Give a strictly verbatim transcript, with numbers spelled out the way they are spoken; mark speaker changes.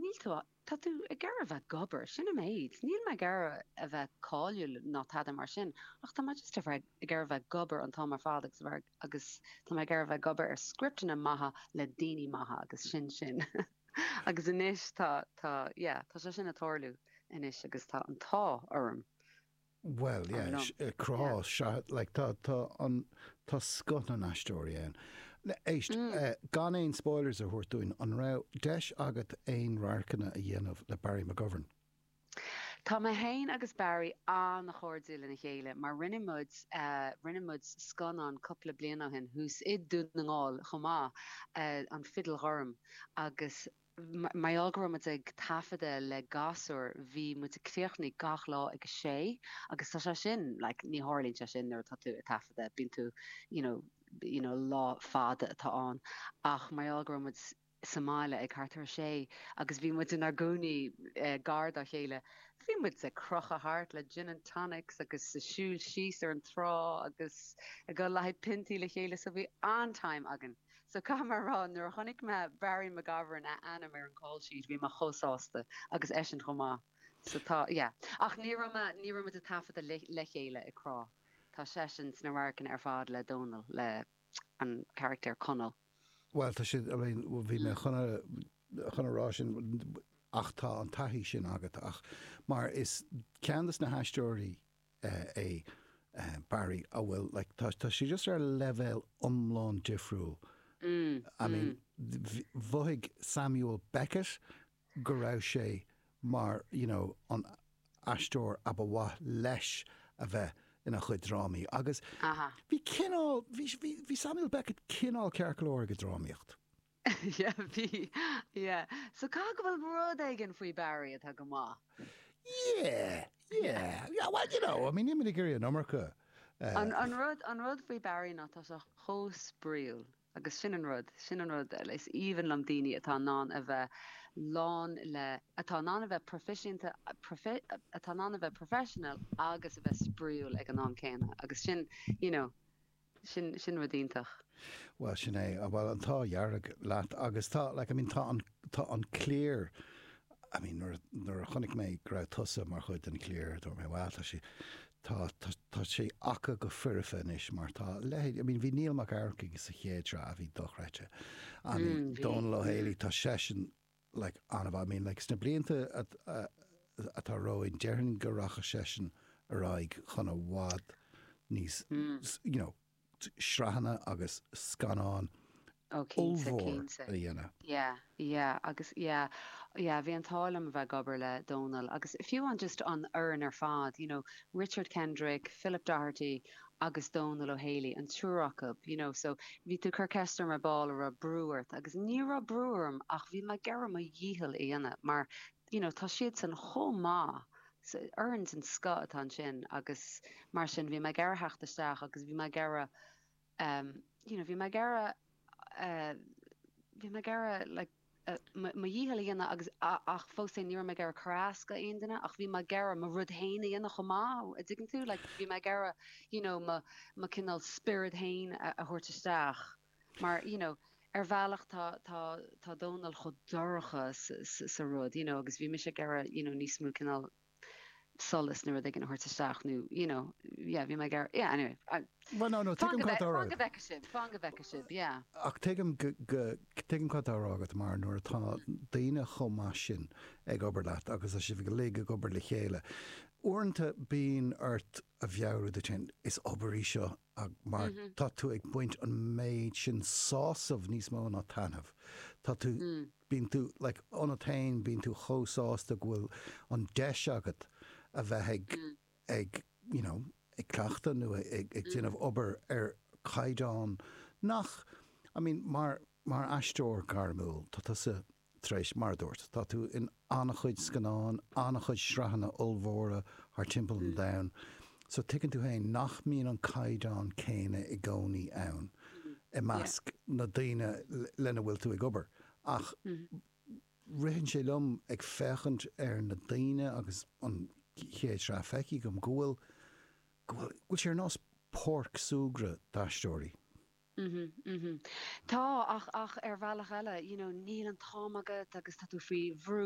Speaker 1: Níl tú tá tú ag iarraidh a bheith ag obair, sin an méid. Níl mé ag iarraidh a bheith cáiliúil ná tada mar sin, ach tá mé just a bheith ag iarraidh a bheith ag obair an t-am ar fad agus a bheith agus tá mé ag iarraidh a bheith ag obair ar scripteanna maithe le daoine maithe agus sin sin. Agus anois tá tá yeah, tá sé sin ag tarlú anois agus tá an t-ádh orm.
Speaker 2: Well,
Speaker 1: Ar
Speaker 2: yeah,
Speaker 1: liom.
Speaker 2: crá
Speaker 1: Yeah.
Speaker 2: se like tá tá an tá scoth na n-aisteoirí ann. Éist,
Speaker 1: Mm.
Speaker 2: uh, gan aon spoilers a thabhairt dúinn an raibh deis agat aon radharcanna a dhéanamh le Barry McGovern.
Speaker 1: Tá mé féin agus Barry an-chairdiúil lena chéile, mar rinne muid uh, rinne muid scannán cúpla bliain ó shin thuas i Dún na nGall chomh maith uh, an Fidil Ghorm agus mar go raibh muid ag taifeadadh le gasúir bhí muid ag críochnú gach lá ag a sé agus tá sé sin like, ní tharlaíonn sé sin nuair atá tú ag taifeadadh bíonn tú you know, you know, lá fada atá ann ach mar go raibh muid sa mbaile ag thart ar sé agus bhí muid inár gcónaí eh, gar dá chéile. Bhí muid ag crochadh thart le gin and tonics agus ag siúl síos ar an trá agus ag dul le haghaidh piontaí le chéile so bhí an-time againn. So caithfidh mé a rá nuair a chonaic mé Barry McGovern a ainm ar an call sheet bhí mé chomh sásta agus eisean chomh maith. So tá yeah. Ach ní raibh ní raibh muid ag taifeadadh le, le chéile i crá. Tá seisean sna radharcanna ar fad le Donal le an character Conall.
Speaker 2: Well tá sé bhí mé chun chun a rá sin ach tá an taithí sin agat ach mar is ceann de na haisteoirí uh, é uh, Barry a bhfuil like, tá tá sé just ar leibhéal iomlán difriúil.
Speaker 1: Mm,
Speaker 2: I mean
Speaker 1: mm.
Speaker 2: mhothaigh Samuel Beckett go raibh sé mar you know, an aisteoir a ba mhaith leis a bheith ina chuid drámaí agus
Speaker 1: Aha.
Speaker 2: bhí cineál bhí bhí Samuel Beckett cineál ceart go leor ag drámaíocht.
Speaker 1: Yeah, bhí yeah. So caithfidh go bhfuil rud éigin faoi Barry atá go maith.
Speaker 2: Yeah, yeah, yeah, well, you know, I mean, níl ag iarraidh an iomarca. Uh,
Speaker 1: An, an rud an rud faoi Barry ná tá sé chomh spraíúil agus sin an rud sin an rud is aoibhinn liom daoine atá in ann a bheith lán le atá in ann a bheith proifisiúnta profi, atá in ann a bheith professional agus a bheith spraíúil ag an am céanna agus sin you know sin sin rud iontach.
Speaker 2: Well sin é well an t-ádh dearg leat agus tá like, I mean, tá an tá an cliar I mean nuair nuair a chonaic mé go raibh tusa mar chuid den cliar dúirt mé well tá sé tá tá tá sé acu go foirfe anois mar tá le I mean bhí Neil Mac Earcaigh sa chéad sraith a bhí dochreidte. I mean
Speaker 1: Mm, bhí
Speaker 2: Donal
Speaker 1: mm.
Speaker 2: Ó Héalaí tá seisean like an I mean like sna blianta atá romhainn déarfainn go rachaidh seisean ar aghaidh chun i bhfad níos
Speaker 1: Mm.
Speaker 2: you know sraitheanna agus scannáin
Speaker 1: Ó cinnte
Speaker 2: ollmhór
Speaker 1: cinnte.
Speaker 2: a dhéanamh.
Speaker 1: Yeah, yeah, agus yeah, yeah, bhí an t-ádh liom a bheith ag obair le Donal agus fiú an just an fhoireann ar fad, you know, Richard Kendrick, Philip Doherty agus Donal Ó Héalaí an triúr acu, you know, so bhí tú cur ceist mar ball a raibh brú ort agus ní raibh brú orm ach bhí mé ag iarraidh mo dhícheall a dhéanamh mar you know, tá siad san chomh maith. So fhoireann den scoth atá ansin agus mar sin bhí mé ag iarraidh theacht isteach agus bhí mé ag iarraidh um, you know, bhí mé ag iarraidh uh, bhí mé ag iarraidh like uh, mo dhícheall a dhéanamh agus ach fós ní raibh mé ag iarraidh cur as do aon duine ach bhí mé ag iarraidh mo rud féin a dhéanamh chomh maith a dtuigeann tú like bhí mé ag iarraidh you know mo mo cineál spiorad féin a, a thabhairt isteach mar you know ar bhealach tá tá tá Dónal chomh dorcha sa, sa, sa rud you know agus bhí mise ag iarraidh you know níos mó cineál solas nó rud éigin a thabhairt isteach nó you know yeah bhí mé ag iarraidh yeah anyway I,
Speaker 2: Well no no
Speaker 1: Fan
Speaker 2: tuigim
Speaker 1: go
Speaker 2: cad
Speaker 1: fan go bhfeicfidh sibh fan go bhfeicfidh sibh yeah
Speaker 2: ach tuigim go tuigim cad atá á rá agat mar nuair atá daoine chomh maith sin ag obair leat agus tá sibh go ag obair le chéile. Uaireanta bíonn ort a mheabhrú duit féin is obair í seo mar
Speaker 1: mm -hmm.
Speaker 2: tá tú ag baint an méid sin sásamh níos mó ná taitneamh. Tá tú
Speaker 1: mm.
Speaker 2: bíonn tú like, ionat féin bíonn tú chomh sásta go bhfuil an deis agat a bheith ag
Speaker 1: Mm.
Speaker 2: ag you know, ag cleachtadh nó ag, ag
Speaker 1: Mm.
Speaker 2: déanamh obair ar caighdeán nach I mean, mar mar aisteoir gairmiúil tá tusa tar éis mar dúirt, Tá tú in an-chuid scannán, an-chuid sraitheanna ollmhóra thar timpeall an
Speaker 1: Mm.
Speaker 2: domhain. So tuigeann tú féin nach mbíonn an caighdeán céanna i gcónaí ann
Speaker 1: Mm.
Speaker 2: i
Speaker 1: Yeah.
Speaker 2: measc na daoine lena bhfuil tú ag obair. Ach
Speaker 1: Mm.
Speaker 2: ritheann sé liom ag féachaint ar na daoine agus an chéad sraith feicthe agam go bhfuil go bhfuil go bhfuil sé ar nós páirc súgartha d'aisteoirí.
Speaker 1: Mhm, mhm. Tá ach ach ar bhealach eile, you know, níl an t-am agat agus tá tú faoi bhrú